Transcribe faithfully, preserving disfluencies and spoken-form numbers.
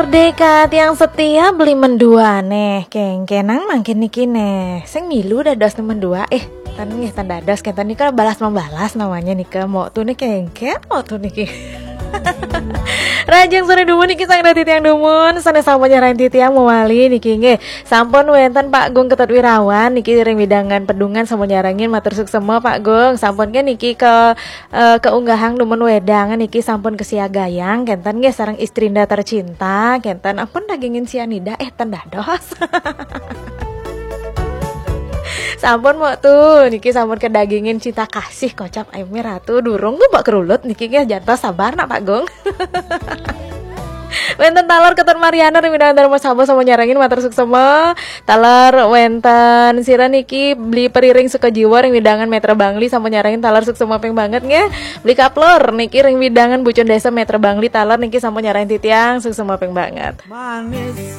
Merdeka tiang setia beli mendua neh, kengkenang mangkin niki neh. Sing milu dados neh mendua, eh, ten nggih, ten dados, kenten nika balas membalas namanya nika. Mau tuh nih kengken, mau tuh niki. Rajang sore dumun niki sang dadi tiang dumun, sana sampun nyarang titiang mewali niki nggih. Sampun wenten Pak Gung Ketut Wirawan niki ring widangan pedungan sampun nyarengin, matur suksema Pak Gung. Sampun ke niki ke eh, keunggahang dumun wedang niki sampun kesiagayang kenten nggih sareng istrinda tercinta kenten, ampun dagingin sianida, eh, ten dados. Sampun mau tuh niki sampun kedagingin cinta kasih kocap ayu ratu durung tuh bak kerulut niki nggih, jantos sabar nak Pak Gung. Wenten taler Ketut Mariana ring widangan Dharma Sabo sampun nyarengin, matur suksema. Taler wenten sira niki beli periring suka jiwa ring widangan Metra Bangli sampun nyarengin, taler suksema ping banget nggih. Beli kaplor niki ring widangan Bucun Desa Metra Bangli, taler niki sampun nyarengin titiang, suksema ping banget. Manis